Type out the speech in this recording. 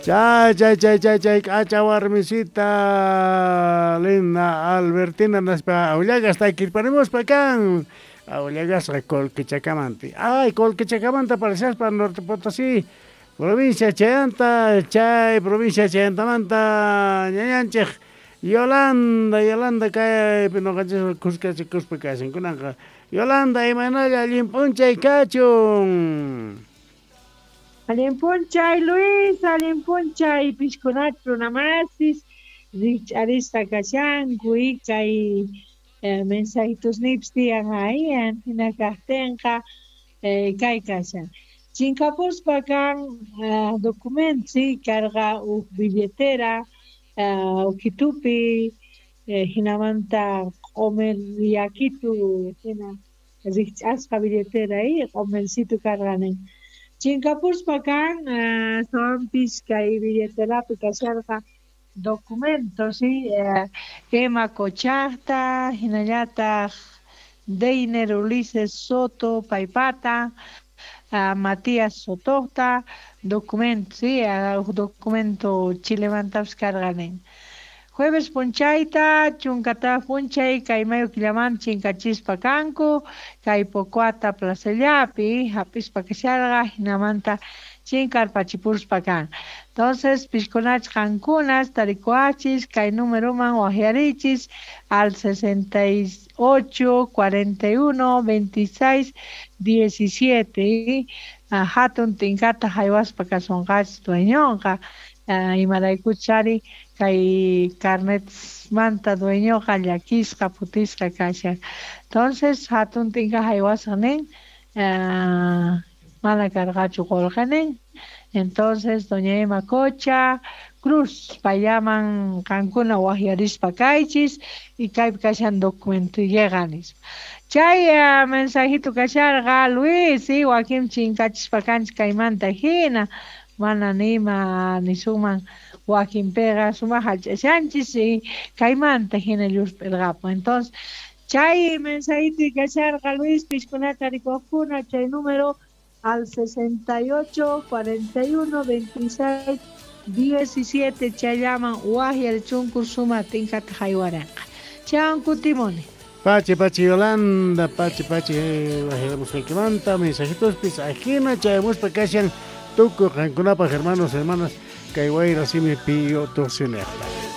Chay, chay, chay, chay, chay, k'acha warmisita Lina Albertina naspa aullagas takirparimuspa kan. Aullagasqa Colquechacamanti. Ay, Colquechacamanti parashaspa Norte Potosí, provincia chayanta, chay provincia chayantamanta ñañanchej Yolanda, Yolanda kaypi noqanchis kuskachikuspa kashan kunanqa. Yolanda, imaynalla allin p'unchay kachun. Allin p'unchay Luis, allin p'unchay pishkunach runamasis rikch'arisqa kashanku y kay mensajitusniypis tiyan ayan hina kajtinqa kay kashan. Chinkapuspa kan documento karqa uj billetera ukitupi hinamanta q'omer yakitu hina rikch'asqa billetera q'omercitu karqa nin. Chinkapuspa kan astawanpis kay billeterapi kasharqa documentos Emma Cochajta, hinallataq Deiner Ulises Soto paypata, Matías Sotota, documento, documento chilemantapis karqa nin. Jueves punchayta, chunkata punchay, kay mayo killaman chinkachispa kanku, kay Pocoata plazallapi, hap'ispa kasharqa, hinamanta chinkarpachipuspa kan. Entonces, pishkunach qankunas, tarikuachis, kay numeroman wajyarichis al 68, 41, 26, 17. Hatun tinkata haywaspa kasunqachis dueñonqa, imaraykuchari kay carnetsmanta dueñoqa llakisqa phutisqa kashan. Entonces, hatun tinka haywasqa nin, mana karqachu qullqi nin. Entonces, doña Emma Cocha Cruz, payllaman qankuna wajyarispa kaychis y kaypi kashan documento llega nispa. Chay mensajito kasharqa Luis, wakin chinkachispa kanchis kaymanta hina, mana nima nisunman wakinpiqa sumaq hallch'ashanchis y kaymanta hina llusp'irqapun. Entonces, chay mensajito kasharqa Luis, pishkunata rikuqkuna chay número al 68, 41, 26, 17 chayllaman wajyarichunku suma tinkata haywaranqa. Chawan kutimuni. Pachi, pachi Yolanda, pachi, pachi wajyaramusqaykimanta mensajitospis ajina chayamuspa kashan tukuy qankunapaj hermanos, hermanas, kay wayra simi piyo tuqsinejta.